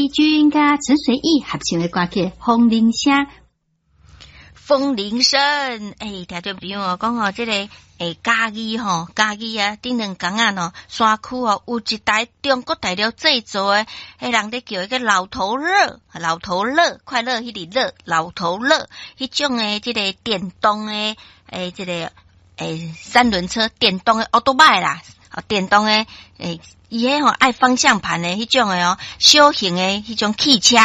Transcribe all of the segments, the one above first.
君佮陳隨意合唱的歌曲《風鈴聲》。風鈴聲，欸，聽眾朋友講吼，這個嘉義吼，嘉義啊，頂兩工仔吼，山區哦，有一台中國大陸製造的，彼人咧叫彼個老頭樂，老頭樂，快樂彼個樂，老頭樂，彼種的這個電動的這個三輪車，電動的歐多擺啦，電動的伊彼吼愛方向盤的彼種的哦，小型的彼種汽車。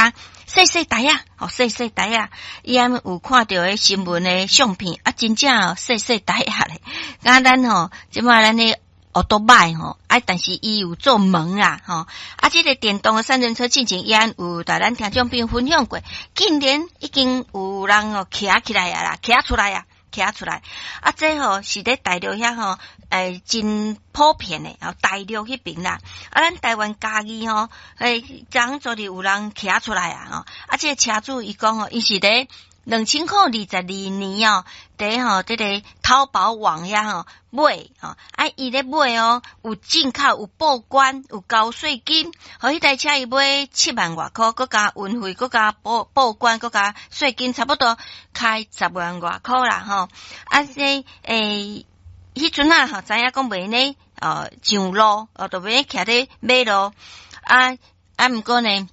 細細台仔，哦，細細台仔，伊按有看著彼新聞的相片，啊，真正哦，細細台仔咧。敢咱吼，這擺咱的歐多擺吼，啊，但是伊有做門啦，吼，啊，這個電動的三輪車進前伊按有共咱聽眾朋友分享過，竟然已經有人哦騎起來啊啦，騎出來啊。騎出來，啊，這吼是佇大陸遐吼，真普遍的，哦，大陸彼爿啦，啊，咱台灣嘉義吼，昨昨日有人騎出來啊，吼，啊，這個車主伊講吼，伊是佇2022年哦，佇吼這個淘寶網遐吼買吼，啊，伊咧買哦，有進口有報關有交稅金，予彼台車伊買7萬外箍，閣加運費，閣加報關，閣加稅金，差不多開10萬外箍啦吼。啊，這彼陣啊吼，知影講袂呢，上路哦，就欲徛咧馬路，啊啊，毋過呢，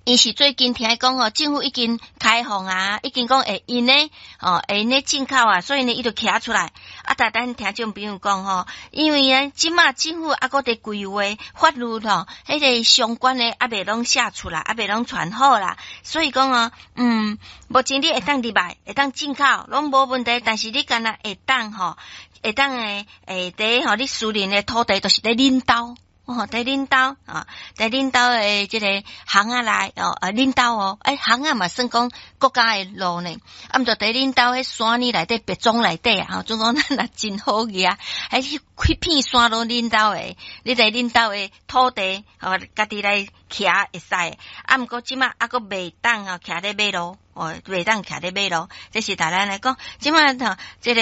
伊是最近聽講吼，政府已經開放啊，已經講會用呢，哦，會用咧進口啊，所以呢，伊就騎出來。啊，但咱聽眾朋友講吼，因為呢，這馬政府猶閣佇規劃法律吼，彼個相關的猶未攏寫出來，猶未攏傳好啦，所以講哦，目前你會當入來，會當進口，攏無問題，但是你干焦會當吼，會當佇吼，你私人的土地，就是佇恁兜。哦，佇恁兜啊，佇恁兜的這個巷仔內哦，啊，恁兜哦，欸，巷仔嘛算講國家的路呢，啊，毋著佇恁兜彼山裡內底、別莊內底啊，吼，總講咱若真好額，彼彼片山攏恁兜的，你佇恁兜的土地，吼，家己來騎會使，啊，毋過這馬猶閣袂當吼，徛咧馬路。哦，袂當徛咧馬路，這是逐咱來講，這馬吼，這個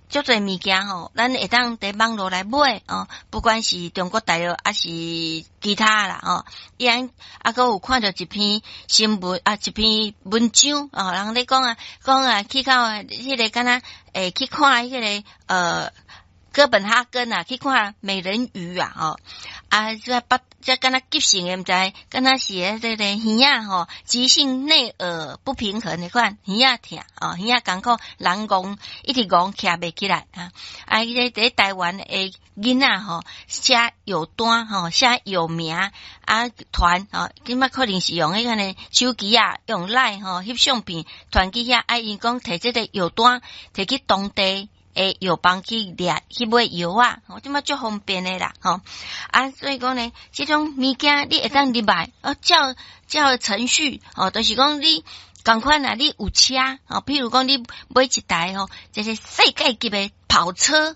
足濟物件吼，咱會當佇網路來買哦，不管是中國大陸抑是其他啦吼，伊按猶閣有看著一篇新聞啊，一篇文章哦，人咧講啊，講啊，去到彼個敢若去看彼個哥本哈根啊，去看美人魚啊，吼啊，這不這敢若急性的，毋知敢若是彼個耳仔吼，急性內耳不平衡的款，耳仔疼哦，耳仔艱苦，人戇一直戇徛袂起來啊！啊，彼個佇台灣的囡仔吼，寫藥單吼，寫藥名啊傳吼，這馬可能是用彼個手機啊，用 LINE 吼翕相片傳去遐，啊，𪜶講提這個藥單提去當地的藥房去掠去買藥仔，吼，這馬足方便的啦，吼啊，所以講呢，這種物件你會當入來，哦，照照程序，哦，就是講你仝款啊，你有車，哦，譬如講你買一台吼，這個世界級的跑車，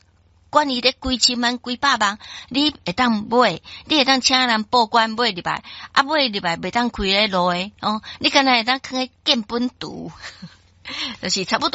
管伊咧幾千萬、幾百萬，你會當買，你會當請人報關買入來，啊，買入來袂當開咧路的，哦，你敢若會當囥佇建本圖，就是差不多。